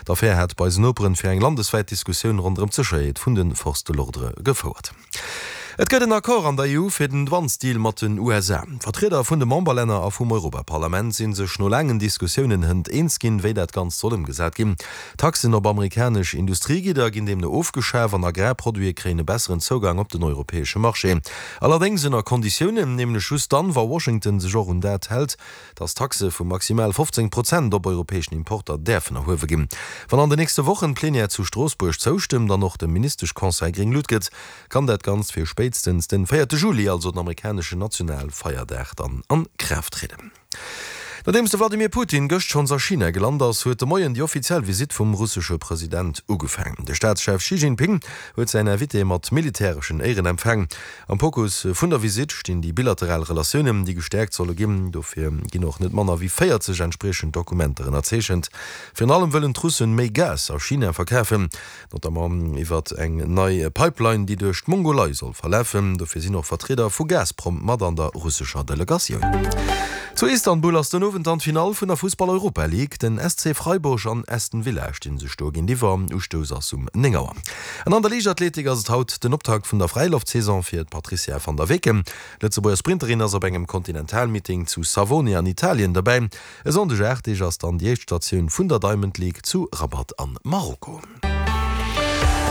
D'Affär hat bei eisen Noperen fir eng landeswäit Diskussioun ronderëm d'Sécherheet vun de Forces de l'ordre gefouert. Et gëtt en Accord an der EU fir den Douanesdeal mat den USA. D'Vertrieder vun de Memberlänner a vum Europaparlament si sech no laangen Diskussiounen hënt eens ginn, wéi dat Ganzt soll ëmgesat ginn. Taxen op amerikanesch Industriegidder ginn deemno ofgeschaf an Agrarproduite kréien e besseren Zougang op den europäesche Marché. Allerdéngs ënner Konditiounen, nämlech just dann, wa Washington sech och un dat hält, dass Taxe vu maximal 15 Prozent op europäeschen Importer däerfen erhuewe ginn. Wann an de nächste Wochen d'Plenière zu Stroossbuerg zoustëmmt an och de Ministeschconseil gréng Lut gëtt, kann dat Ganzt fir spéitstens den véierte Juli, also den amerikaneschen Nationalfeierdag, dann an Kraaft trieden. Nodeems de Vladimir Putin gëscht schonns a China gelant ass, huet de Moien déi offiziell Visitt vum russesche President ugefaang. De Staatschef Xi Jinping huet säin Invité mat militäreschen Éieren empfaang. Am Fokus vun der Visitt stinn déi bilateral Relatiounen, déi gestäerkt solle ginn. Dofir ginn och net manner wéi 40 entspriechend Dokumenter ënnerzeechent. Virun allem wëllen d'Russen méi Gas a China verkafen, notamment iwwert eng nei Pipeline, déi duerch d'Mongolei soll verlafen. Dofir sinn och Vertrieder vu Gazprom mat an der russescher Delegatioun. Zu Istanbul ass den Owend dann d'Finall vun der Fussball-Europa League. Den SC Freiburg an Aston Villa stinn sech do géintiwwer. Ustouss ass um 9 Auer. An an der Liichtathletik ass et haut den Optakt vun der Fräiloftsaison fir d'Patrizia van der Weken. D'Lëtzebuerger Sprinterin ass op engem Kontinentalmeeting zu Savone an Italien derbäi. E Sonndeg 8 Deeg ass dann déi éischt Statioun vun der Diamond League zu Rabat an Marokko.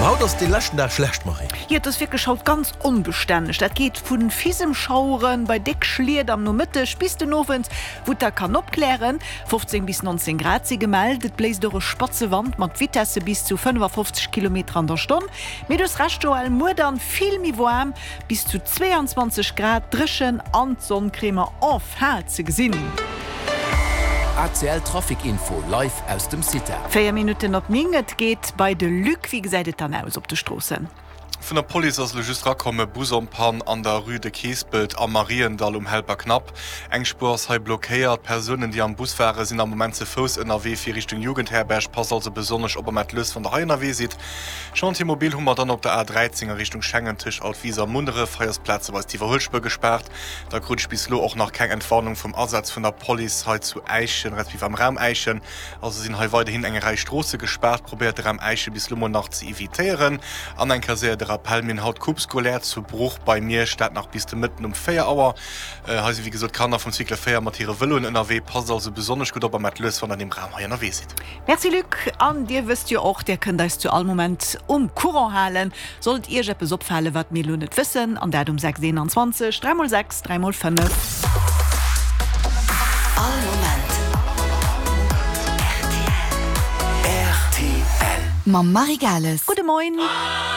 Ma haut ass dee leschten Dag schlecht, Marie. Jo, et ass wierklech haut ganz onbestänneg. Dat geet vu Fisemschauere bei déck Schliet am Nomëtteg bis den Owend, wou et da kann opklären. 15 bis 19 Grad si gemellt. Et bléist och e spatze Wand mat Vitesse bis zu 55 Kilometer an der Stonn. Mee du hues Recht Joël, muer dann vill méi waarm, bis zu 22 Grad, dréchen an d'Sonn kréie mer enfin ze gesinn. ACL Trafic Info live aus dem CITA. 4 Minutten op 9, et geet bei de Luc. Wéi gesäit et dann aus op de Stroossen? Vun der Police ass elo just rakomm, e Bus en panne an der Rue de Keespelt am Mariendall um Helperknapp. Eng Spuer ass hei blockéiert. Persounen, déi am Bus waren, sinn am Moment ze Fouss ënnerwee fir Richtung Jugendherberg. Passt also besonnesch op a maacht lues, wann der hei ënnerwee sidd. Chantier mobile hu mer dann op der A13 a Richtung Schengen tëscht Altwis a Munneref. Hei ass plazeweis d'Iwwerhuelspuer gespaart. Da krut ech bis elo och nach keng Entwarnung vum Asaz vun der Police hei zu Äischen, respektiv am Raum Äischen. Also sinn hei weiderhin eng Rei Stroosse gespaart. Probéiert de Raum Äischen bis elo mol nach ze evitéieren. An eng Kéier séier de Rappel, Mir hunn haut Coupe scolaire zu Bruch bei Miersch, dat nach bis de Mëtten um 4 Auer. Hei si wéi gesot d'Kanner vum Cycle 4 mat hire Vëloen ënnerwee. Passt also besonnesch gutt op a maacht lues, wann der an deem Raum hei ënnerwee sidd. Merci Luc. An dir wësst jo och, dir kënnt eis zu all Moment um Courant halen, sollt iech eppes opfalen, wat mir elo net wëssen, an dat um 6 21 3 mol 6 3 mol 5. All Moment rtl. Mam Marie Gales. Gudde Moin.